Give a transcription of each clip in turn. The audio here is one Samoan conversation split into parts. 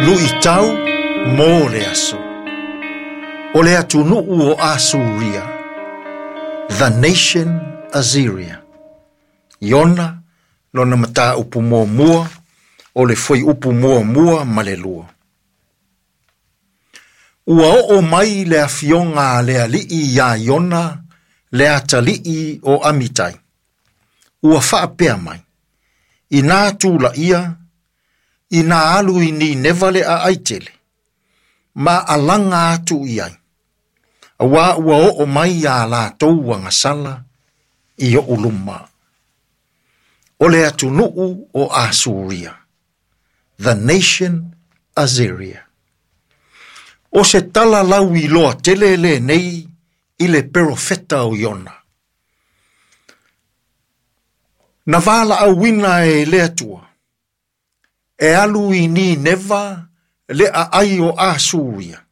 Luʻitau mo le aso. O le atunuu o Asuria, the nation Assyria. Iona lona mataupu muamua o le fuaiupu muamua ma le lua. Ua oo mai le afioga a le Alii iā Iona le atalii o Amitai. Ua faapea mai, inā tulaia, inā alu i Nineva le aai tele, ma alaga atu i ai. Auā ua oo mai a latou agasala i oʻu luma. O le atunuu o Asuria, the nation Assyria. O se tala lauiloa tele lenei i le perofeta o Iona. Na valaauina e le Atua e alu i Nineva le aai o Asuria,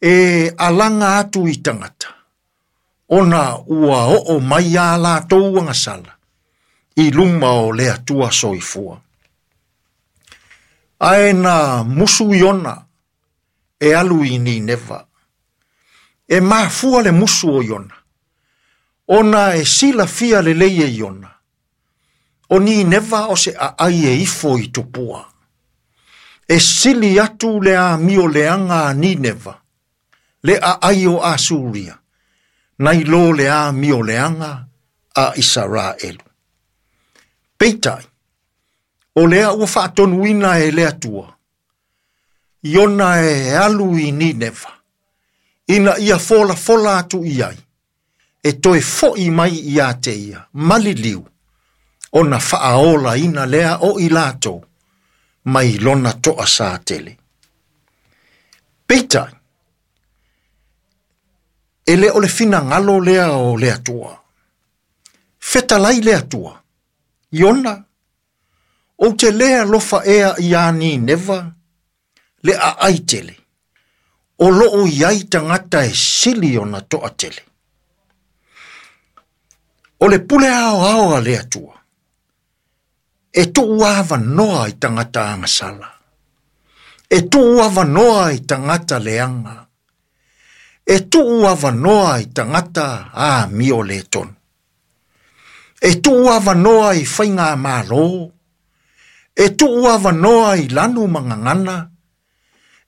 e alaga atu i tagata, ona ua oo mai a latou agasala i luma o le Atua soifua. Ae na musu Iona e alu i Nineva. E mafua le musu o Iona, ona e silafia lelei e Iona, o Nineva o se aai e ifo i tupua. E sili atu le amio leaga a Nineva, le aai o Asuria, nai lo le amio leaga a Isaraelu. Peitai, o lea ua faatonuina e le Atua, Iona e alu i Nineva, ina ia folafola atu i ai, e toe foʻi mai ia te ia, maliliu, ona faaolaina lea o i latou, mai lona toasā tele. Peitai, e le o le finagalo lea o le Atua. Fetalai le Atua, Iona, ou te lē alofa ea iā Nineva, le aai tele, o loo i ai tagata e sili ona toatele. O le pule aoao a le Atua, e tuu avanoa i tagata agasala, e tuu avanoa i tagata leaga, e tuu avanoa i tagata amio le tonu, e tuu avanoa i faigamalo, e tuu avanoa i lanu ma gagana,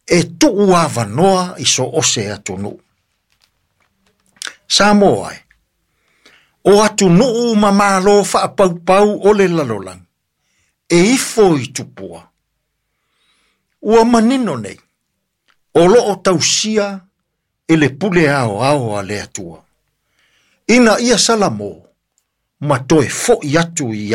e tuu avanoa i so o se atunuu. Samoa e, o atunuu ma malo faapaupau o le lalolagi, e ifo i tupua. Ua manino nei, o loo tausia e le pule aoao a le Atua. Ina ia salamo, ma toe foʻi atu i